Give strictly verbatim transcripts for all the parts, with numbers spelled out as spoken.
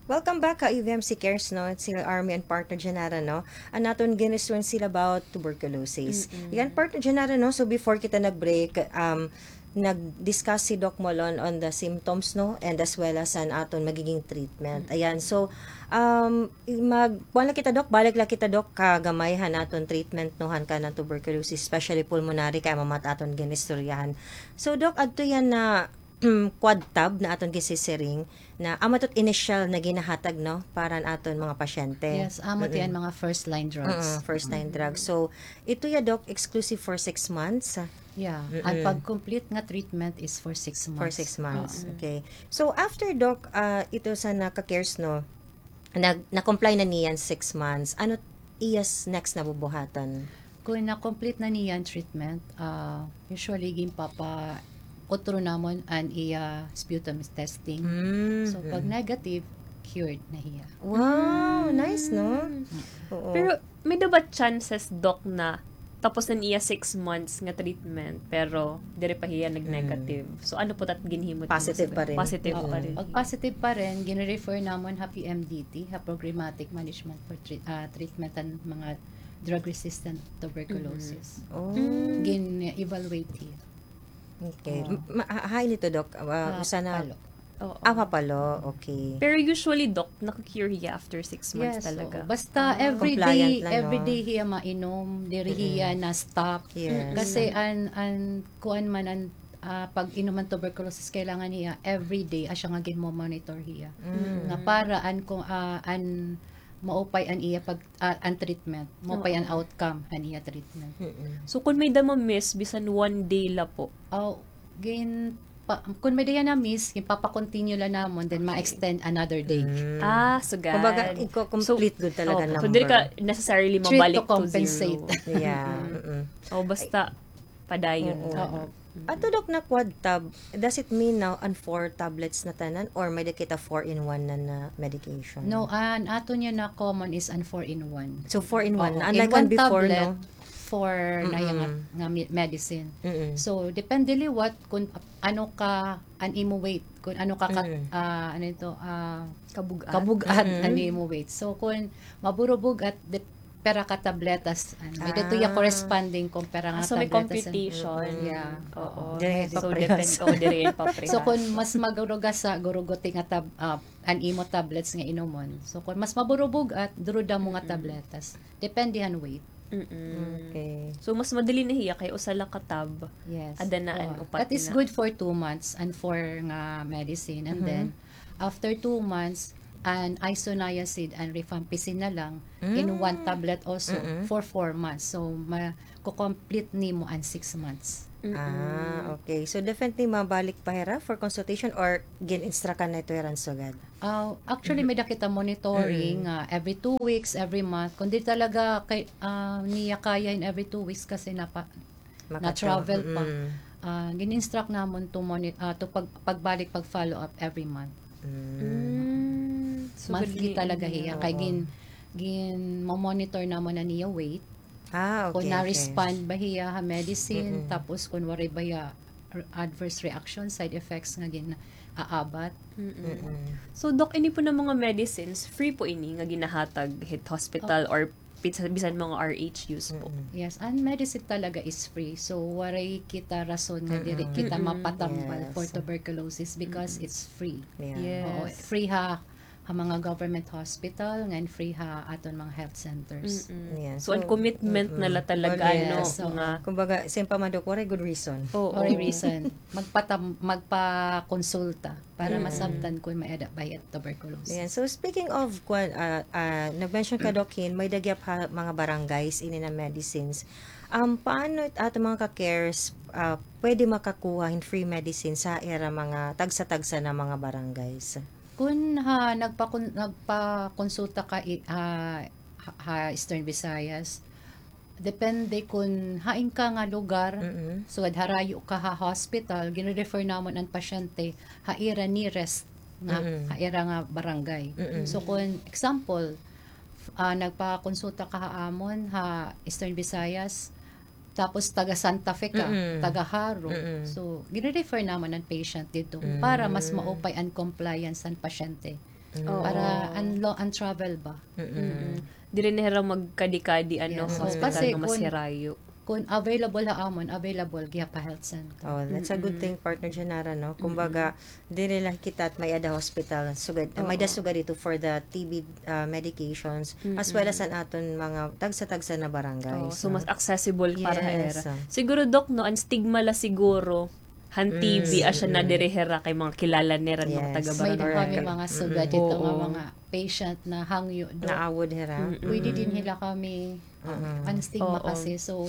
Welcome back ha E V M C Cares, no? Sila Army and Partner Janara, no? An aton ginistoryahan sila about tuberculosis. Mm-mm. Yan, Partner Janara, no? So, before kita nag-break, um, nag-discuss si Doc Molon on the symptoms, no? And as well as an aton magiging treatment. Mm-mm. Ayan, so, um, mag-, kuwan la kita, Doc, balik la kita, Doc, kagamay han aton treatment, no, han kanan tuberculosis, especially pulmonary, kay amo man it aton ginistoryahan. So, Doc, adto yana quad tab na aton gisisiring na amo ito it initial na ginahatag, no, para han aton mga pasyente. Yes, amo ito yana mga first line drugs. Mm, first line drugs. So, ito ya, Doc, exclusive for six months? Yeah. An pag-complete nga treatment is for six months. For six months. Oo. Okay. So, after, Doc, ah, ito sa naka-cares, no, nag-, na-comply na niyan six months, ano iya next na bubuhatan? Kon na-complete na niya an treatment, ah, usually ginpapa-utro namon an iya sputum testing. Mm, so, pag negative, cured na hiya. Wow, nice, no? Mm. Oo. Pero may-ada ba chances, Doc, na tapos na niya six months nga treatment, pero diri pa hiya nag-negative? Mm. So, ano po tat ginhimo? Positive pa rin. Positive pa rin. Pag positive pa rin, gini-refer namon ha P M D T, ha Programmatic Management for Treat-, ah, Treatment and mga Drug-resistant tuberculosis. Mm. Oh. Mm. Gin-evaluate hiya. Okay. Oo. Ma-, ha-, hain ito, Doc? Ah, usa na Palo. Oo. Ah, ha Palo. Okay. Pero usually, Doc, naka-cure hiya after six months talaga. Yes, oo. Basta every day, every day hiya mainom, diri hiya na-stop. Yes. Kasi an, an, kuan man an, ah, pag-inom han tuberculosis, kailangan hiya every day, asya nga ginmo-monitor hiya. Mm. Nga para an, kung, ah, an maupay an iya pag, ah, an treatment. Maupay an outcome han iya treatment. Mm-mm. So, kun may-ada ma-miss, bisan one day la po? Aw, gin-, pa-, kun may-ada hiya na-miss, ginpapa-continue la namon, then ma-extend another day. Mm. Ah, sugad. Kumbaga, iko-complete gud talaga number. So, diri ka necessarily mabalik to zero. Treat to compensate. Yeah. Mm-mm. O, basta, padayon. Oo. Oo. Ato, Doc, na quad tab, does it mean na an four tablets na tanan or may-ada kita four-in-one na, na medication? No, an aton yana common is an four-in-one. So, four-in-one, unlike an before, no? Oo, in one tablet, four na yana nga, nga me-, medicine. Mm-mm. So, depende liwat kun ano ka, an imo weight, kun ano ka, ah, ano ito, ah, kabug-at an imo weight. So, kun maburubog-at, dep-, pira ka tabletas, ano, may-ada ito ya corresponding kun pira nga tabletas. Ah, so may computation. Yeah. Oo. So, depende, oo, diri pareha. So, kun mas magurugasa, guruguti nga tab-, ah, an imo tablets nga inomon. So, kun mas maburubog-at, durudamo nga tabletas. Depende han weight. Mm-mm. Okay. So, mas madali na hiya kay usa la ka tab. Yes. Ada na an upat na. That is good for two months and four nga medicine. And then, after two months, an isoniazid and rifampicin na lang in one tablet also for four months. So, ma-, ko-complete nimo an six months. Mm-mm. Ah, okay. So, definitely mabalik pa hira for consultation or gin-instruct ka na ito hira sugad? Ah, actually, may-ada kita monitoring, ah, every two weeks, every month. Kun diri talaga kay, ah, niya kaya in every two weeks kasi napa-, na-travel pa. Ah, gin-instruct namon to moni-, ah, to pag-, pagbalik, pag-follow up every month. Mm. So, monthly talaga hiya. Kay gin-, gin-monitor namon an iya weight. Ah, okay, okay. Kun na-respond ba hiya ha medicine, tapos kun waray ba hiya adverse reaction, side effects nga gin-aabat. Mm-mm. So, Doc, ini po na mga medicines, free po ini nga ginahatag hit hospital or bisan mga R H Us po? Yes, an medicine talaga is free. So, waray kita rason nga diri kita mapatambal for tuberculosis because it's free. Yes. Oo, free ha, ha mga government hospital, ngan free ha aton mga health centers. Mm-mm. So, an commitment na la talaga, no, nga kumbaga, same pa man, Doc, waray gud reason. Oo. Waray reason. Magpatam-, magpakonsulta para masabtan kun may-ada ba hiya tuberculosis. Ayan. So, speaking of, kuan, ah, ah, nag-mention ka, Doc, hin may-ada gihap ha mga barangays ini na medicines. Um, paano it aton mga ka-cares, ah, pwede makakuha hin free medicines ha ira mga tagsa-tagsa na mga barangays? Kun ha, nagpakon-, nagpakonsulta ka i-, ha, ha, ha Eastern Visayas, depende kun hain ka nga lugar, sugad harayo ka ha hospital, gini-refer namon an pasyente ha ira nearest nga, ha ira nga barangay. So, kun example, ah, nagpakonsulta ka ha amon ha Eastern Visayas, tapos taga Santa Fe ka, taga Jaro. So, gini-refer namon an patient didto para mas maupay an compliance han pasyente. Oo. Para an lo-, an travel ba? Mm-mm. Diri na hira magkadi-kadi, ano, yes, hospital nga mas hirayo. Kun available ha amon, available gihap ha health center. Oh, that's a good thing, Partner Janara, no? Kumbaga, diri la kita it may-ada hospital, sugad, may-ada sugad ito for the T B, ah, medications, as well as an aton mga tagsa-tagsa na barangay. Oh, so, mas accessible para ha ira. Siguro, Doc, no, an stigma la siguro, han T B, asya na diri hira kay mga kilala nira, mga taga-barangay. May-ada kami mga sugad dito nga mga patient na hangyo, Doc. Naawod hira. Pwede dinhi la kami, um, an stigma kasi. So,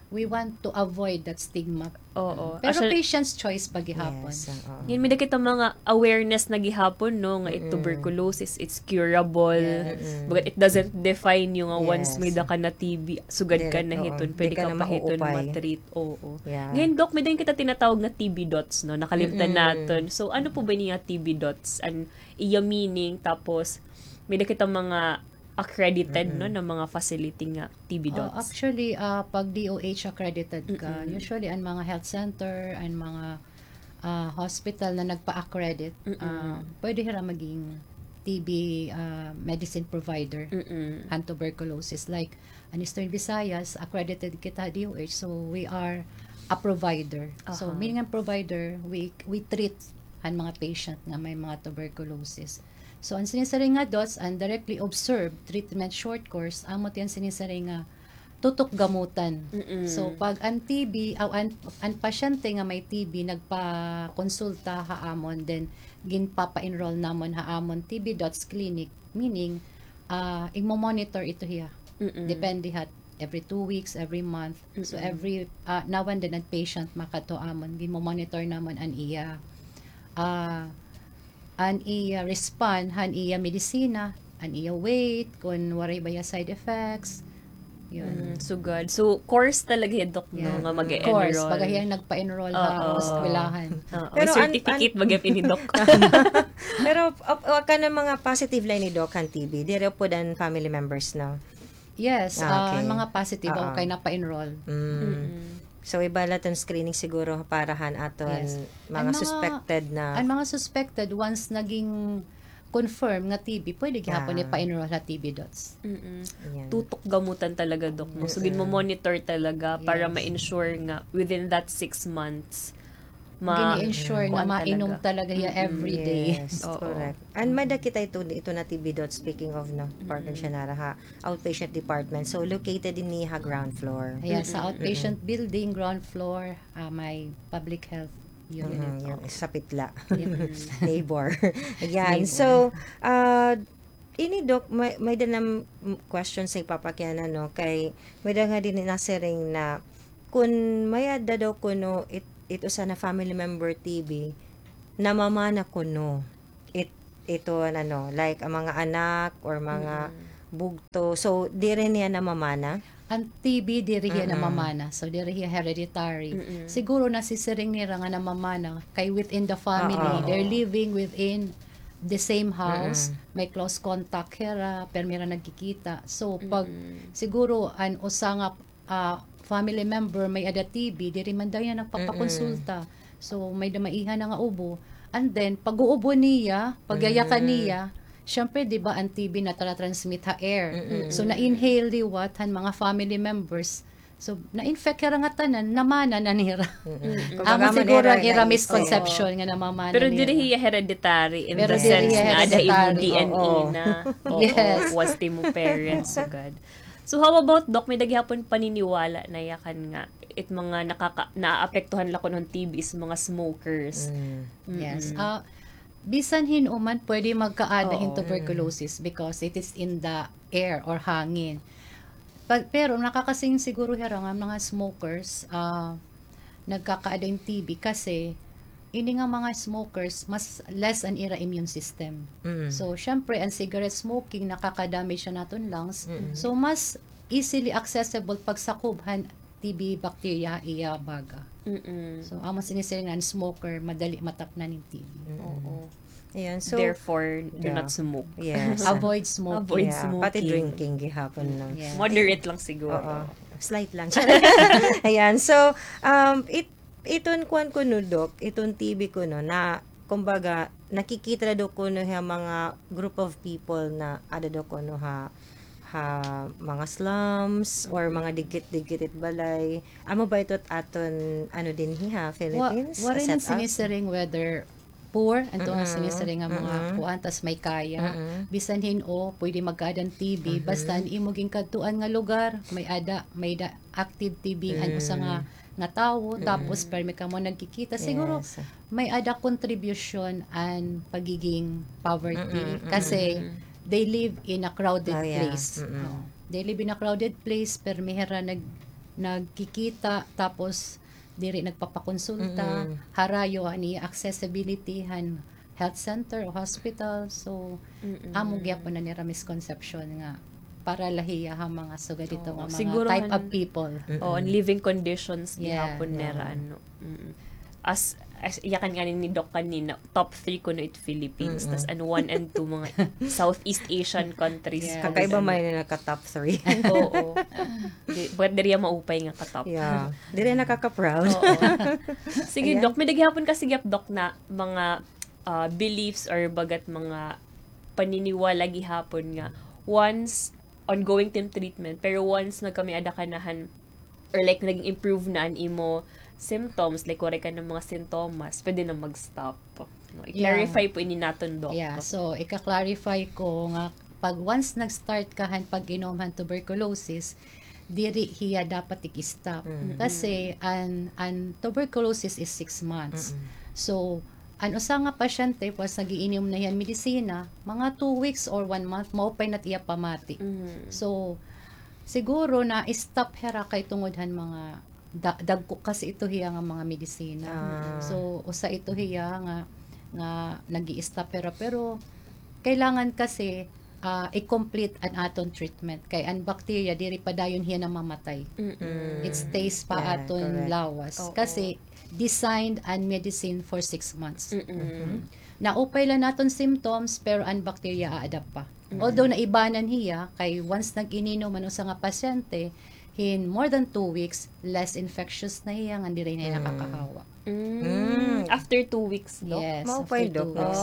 we want to avoid that stigma. Oo. Pero patient's choice pa gihapon. Yes, oo. Ngan may-ada kita mga awareness na gihapon, no, nga it tuberculosis, it's curable. Yes. But it doesn't define you nga once may-ada ka na T B, sugad ka na hiton, pwede ka pa hiton ma-treat. Oo. Yeah. Ngan, Doc, may-ada kita tinatawag nga T B dots, no? Nakalimtan naton. So, ano po ba niya T B dots? An iya meaning, tapos may-ada kita mga accredited, no, na mga facility nga T B dots? Oh, actually, ah, pag D O H accredited ka, usually an mga health center, an mga, ah, hospital na nagpa-accredit, ah, pwede hira maging T B, ah, medicine provider han tuberculosis. Like, an Eastern Visayas, accredited kita ha D O H, so we are a provider. So, meaning an provider, we, we treat an mga patient nga may mga tuberculosis. So, an sinisiring nga dots, an directly observed treatment short course, amo ti an sinisiring nga tutok gamutan. So, pag an T B, aw, an, an pasyente nga may T B nagpakonsulta ha amon, then ginpapa-enroll namon ha amon T B dots clinic, meaning, ah, igmo-monitor ito hiya. Depende ha, every two weeks, every month. So, every, ah, now and then, an patient makadto ha amon, ginmo-monitor namon an iya, ah, an iya respond han iya medisina, an iya weight, kun waray ba hiya side effects. Yun. Mm, sugad. So, course talaga hiya, Doc, no, nga mag-e-enroll. Course, baga hiya nagpa-enroll ha eskwelahan. Oo. Pero certificate baga ini, Doc. Pero, op-, o, kanan mga positive la ini, Doc, han T B, diri upod an family members, no? Yes, ah, an mga positive, okay, napa-enroll. So, iba la iton screening siguro para han aton mga suspected na. An mga suspected, once naging confirm nga T B, pwede gihapon ipa-enroll ha T B dots. Tutok gamutan talaga, Doc, no? So, ginmo-monitor talaga para ma-ensure nga within that six months, ma-, gini-ensure na mainom talaga hiya every day. Yes, correct. An may-ada kita ito, ito na T B dots, speaking of, no, Partner Janara, ha outpatient department. So, located ini ha ground floor. Yes, sa outpatient building, ground floor, ah, may public health unit. Sapit la. Neighbor. Ayan. So, ah, ini, Doc, may, may-ada na, mm, question sa ipapakiana, no, kay may-ada nga dinhi nasiring na kun may-ada daw kuno it, it usa na family member T B, namamana kuno it, ito, ano, like, an mga anak or mga bugto. So, diri niya namamana? An T B, diri hiya namamana. So, diri hiya hereditary. Siguro nasisiring nira nga namamana kay within the family, they're living within the same house, may close contact hira, permi hira nagkikita. So, pag siguro an usa nga, ah, family member may-ada T B, diri man daw hiya nagpapakonsulta. So, may-ada maiha na nga ubo. And then, pag-uubo niya, pagyayakan niya, syempre, di ba, an T B natara-transmit ha air. So, na-inhale liwat han mga family members. So, na-infect hira nga tanan, namana na nira. Amo siguro an ira misconception nga namamana nira. Pero diri hiya hereditary in the sense nga ada imo D N A na. Yes. Was it imo parents, sugad. So, how about, Doc, may-ada gihapon paniniwala na yakan nga it mga nakaka-, naapektuhan la kuno han T B is mga smokers. Yes. Ah, bisan hin-o man pwede magkaada hin tuberculosis because it is in the air or hangin. Pa-, pero nakakasiring siguro hira nga mga smokers, ah, nagkakaada hin T B kasi ini nga mga smokers, mas less an ira immune system. So, syempre, an cigarette smoking, nakaka-damage siya naton lungs. So, mas easily accessible pagsakob han T B bacteria ha iya baga. So, amo sinisiring nga an smoker, madali matapnan hin T B. Oo. Ayan, so, therefore, do not smoke. Yes. Avoid smoking. Avoid smoking. Pati drinking gihapon, no? Yes. Moderate lang siguro. Oo. Slight lang. Ayan, so, um, it-, iton kuan kuno, Doc, iton T B kuno, na kumbaga, nakikita na daw kuno ha mga group of people na ada daw kuno ha, ha mga slums or mga digkit-digkit it balay. Amo ba ito it aton, ano, dinhi ha Philippines? Waray na sinisiring whether poor, adto nga sinisiring nga mga kuan, tas may kaya. Bisan hin-o, pwede magkaada hin T B. Basta an imo ginkadtuan nga lugar, may ada, may da, active T B an usa nga, nga tawo, tapos permi kamo nagkikita. Siguro, may ada contribution an pagiging poverty. Kasi, they live in a crowded place. Oh. They live in a crowded place, permi hira nag, nagkikita, tapos diri nagpapakonsulta, harayo an iya accessibility han health center o hospital. So, amo gihapon an ira misconception nga para la hiya ha mga sugad hito nga mga type of people. Oo, an living conditions gihapon nira, ano. As, as yakan ngani ni Doc kanina, top three kuno it Philippines. Tas an one and two, mga Southeast Asian countries. Kakaiba man ini nagka-top three. Oo. Di, bagat diri hiya maupay nga ka-top. Yeah. Diri nakaka-proud. Oo. Sige, Doc. May-ada gihapon kasi gihap, Doc, na mga, ah, beliefs or bagat mga paniniwala gihapon nga once ongoing it im treatment, pero once nagkamay-ada ka na han, or like, naging improve na an imo symptoms, like, waray ka na mga sintomas, pwede na mag-stop. No, i-clarify po ini naton, Doc. Yeah, so, ika-clarify ko nga pag once nag-start ka han pag-inom han tuberculosis, diri hiya dapat ig-stop. Kasi an, an tuberculosis is six months. So, an usa nga pasyente, once nag-iinom na hiya han medisina, mga two weeks or one month, maupay na it iya pamati. So, siguro na-stop hira kay tungod han mga da-, dagko kasi ito hiya nga mga medisina. So, usa ito hiya nga, nga nag-i-stop hira. Pero, kailangan kasi, ah, i-complete an aton treatment. Kay an bacteria, diri pa dayon hiya namamatay. It stays pa aton lawas. Kasi, designed an medicine for six months. Naupay la naton symptoms, pero an bacteria a-adapt pa. Although naibanan hiya, kay once nag-ininom an usa nga pasyente, hin more than two weeks, less infectious na hiya, ngan diri na hiya nakakahawa. After two weeks, Doc? Yes, after two weeks.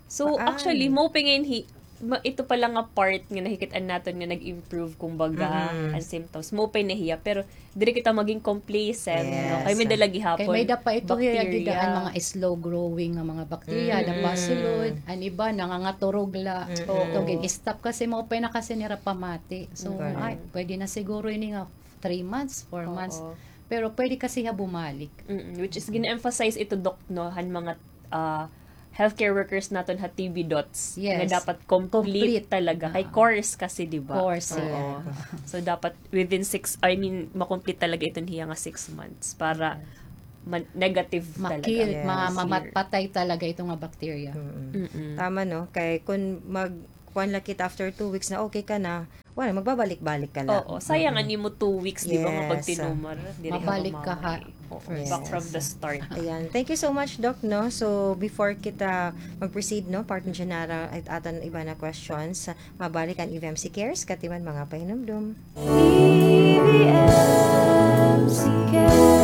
So, actually, maupay ngay-an hi-, ma-, ito pala nga part nga nakikit-an naton nga nag-improve, kumbaga, an symptoms. Maupay na hiya, pero diri kita maging complacent, no? Kay may-ada la gihapon. Kay may-ada pa ito hiya, dida an mga slow growing nga mga bacteria, ada pa sulod, an iba, nangangaturog la. Ito, gin-stop kasi maupay na kasi nira pamati. So, ay, pwede na siguro ini nga three months, four months. Pero pwede kasi hiya bumalik. Which is, gin-emphasize ito, Doc, no, han mga ah, healthcare workers naton ha T B dots nga dapat complete talaga. Kay course kasi, di ba? Course, yeah. So, dapat within six, I mean, ma-complete talaga iton hiya nga six months para ma-, negative talaga. Ma-kill, ma-, mamatpatay talaga ito nga bacteria. Tama, no? Kay kun mag-, kuan la kita after two weeks na okay ka na, wala, magbabalik-balik ka la. Oo, sayang an imo two weeks, di ba, nga pagtinumar. Diri ka bumalik. Mabalik ka ha. Oo, back from the start. Ayan. Thank you so much, Doc, no? So, before kita mag-proceed, no, Partner Janara, it aton iba na questions, mabalik an E V M C Cares, katiman mga pahinumdom. E V M C Cares.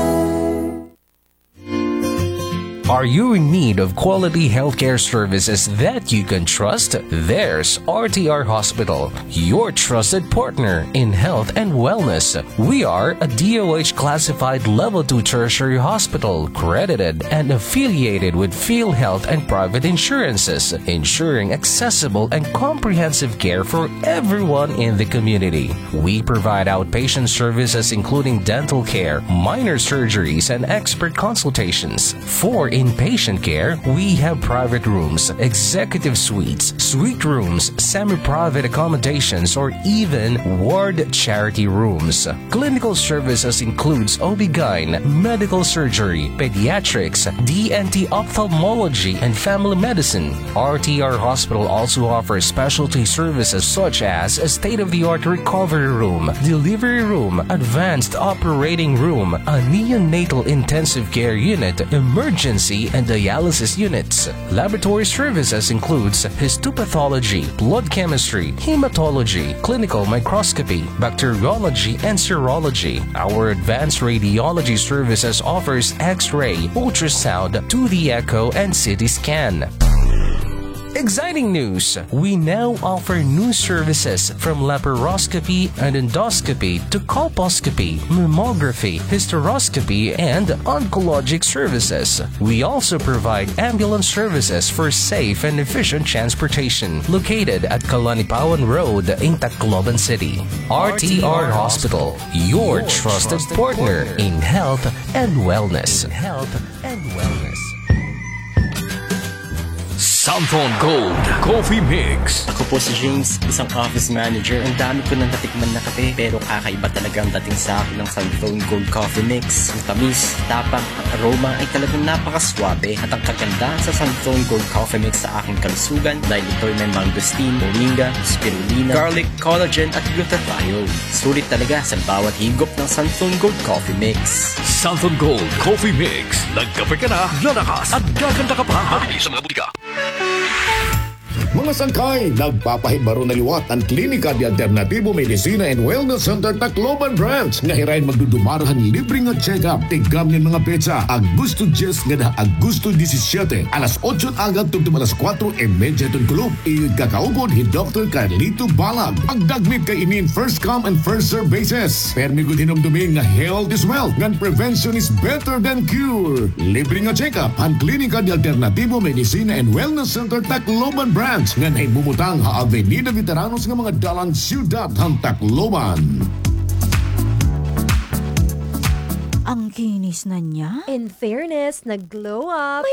Are you in need of quality healthcare services that you can trust? There's R T R Hospital, your trusted partner in health and wellness. We are a D O H classified level two tertiary hospital, credited and affiliated with PhilHealth and private insurances, ensuring accessible and comprehensive care for everyone in the community. We provide outpatient services including dental care, minor surgeries, and expert consultations. For inpatient care, we have private rooms, executive suites, suite rooms, semi-private accommodations, or even ward charity rooms. Clinical services includes O B-gyn, medical surgery, pediatrics, D N T, ophthalmology, and family medicine. R T R Hospital also offers specialty services such as a state-of-the-art recovery room, delivery room, advanced operating room, a neonatal intensive care unit, emergency and dialysis units. Laboratory services includes histopathology, blood chemistry, hematology, clinical microscopy, bacteriology, and serology. Our advanced radiology services offers X-ray, ultrasound, two D echo, and C T scan. Exciting news! We now offer new services from laparoscopy and endoscopy to colposcopy, mammography, hysteroscopy, and oncologic services. We also provide ambulance services for safe and efficient transportation, located at Kalanipawan Road in Tacloban City. R T R Hospital, your trusted partner in health and wellness. In health and wellness. Santhon Gold Coffee Mix. Ako po si James, isang office manager. Ang dami ko nang natikman na kape, pero kakaiba talaga ang dating sa akin ng Santhon Gold Coffee Mix. Ang tamis, tapang, ang aroma ay talagang napakaswabe. At ang kagandahan sa Santhon Gold Coffee Mix sa aking kalusugan dahil ito'y may mangosteen, moringa, spirulina, garlic, collagen at glutathione. Sulit talaga sa bawat higop ng Santhon Gold Coffee Mix. Santhon Gold Coffee Mix. Nagkape ka na, lalakas at gaganda ka pa. Mabibili sa mga butika. Mga sangkay, nagpapahibaro na liwat an Klinika de Alternatibo Medicina and Wellness Center Tacloban Branch nga hirain magdudumara han libre nga check-up. Tikam an mga petsa, Agosto diyes ngada ha Agosto disisyete, alas otso aga tubtob alas kuwatro y medya hiton kulop. Iyo it kakaupod hi Doktor Carlito Balag. Pagdagmit kay ini in first come and first serve basis. Permi gud hinumdumi nga health is wealth, ngan prevention is better than cure. Libre nga check-up han Klinika de Alternatibo Medicina and Wellness Center Tacloban Branch, ngan hibumutang ha Avenida Veteranos nga mga dalan, siyudad han Tacloban. Ang kinis na niya? In fairness, nag-glow up. May